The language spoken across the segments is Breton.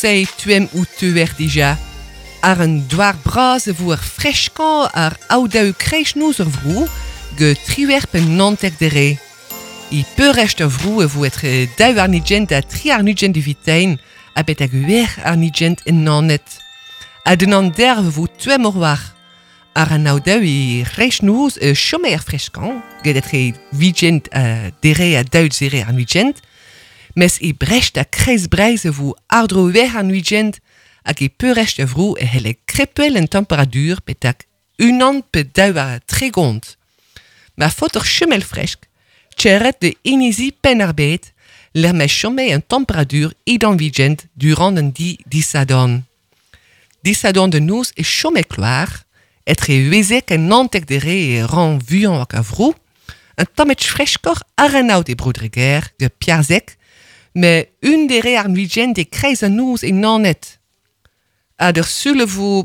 Se tuem ou teuer dija. Ar un douar bras e vo ar freskañ ar aodaou kreiznoz ur vro ge triwec'h pe 19 dere. I peurrest ur vro e vo etre daou arnigent ha tri arnigent evitein ha betek uec'h arnigent en Naoned. Ha d'un anderv e vo tuem ur war. Ar an aodaou e kreiznoz e chome er freskañ get etre vigent dere ha daou zere arnigent mes e Brest ha Kreiz-Breizh e vo àr-dro uec'h an weekend hag e peurrest a vro e c'helle krepel en temperadur betek unan pe daou ha 30. Ma faot ur chumel fresk, tcherret de inizi Penn-ar-Bed, lec'h ma chome an temperadur edan weekend durant an di disadorn. Disadorn de noz e chome kloar, etre uezek ha 19 dere e ran vuiañ hag a vro, un tamm freskoc'h àr an aod e Bro-Dreger, ge Piarzek, met un dere ar weekend e kreiz an noz e Naoned. Ha d'ur sul e vo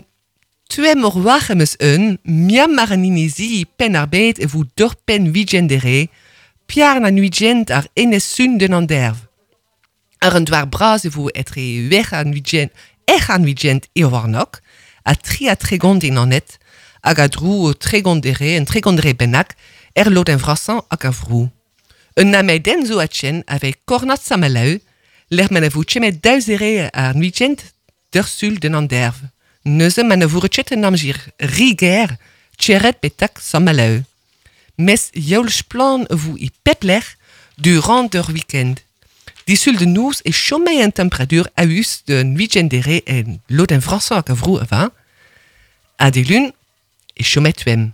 tuem ur war em eus un, miam ar an inizi Penn-ar-Bed e vo dorpenn weekend dere, piar an weekend ar enez sun den an derv. Ar an douar bras e vo etre uec'h an weekend, ec'h an weekend e warnok, ha tri ha 30 e Naoned, hag a dro 30 dere, un 30 dere bennak, er lodenn vrasañ hag a vro. Un amedenn zo a-chen avec kornad Saint-Malo, lec'h ma ne vo chemet daou zere ar weekend d'ur sul den an derv. Neuze ma ne vo ket an amzer riger tcheret betak Saint-Malo. Mes youl splan vo i pep lec'h durant ur weekend. Disul de noz e chome an temperatur a-us d'un weekend dere en lodenn vrasañ hag a vro a va. Ha dilun e chome tuem.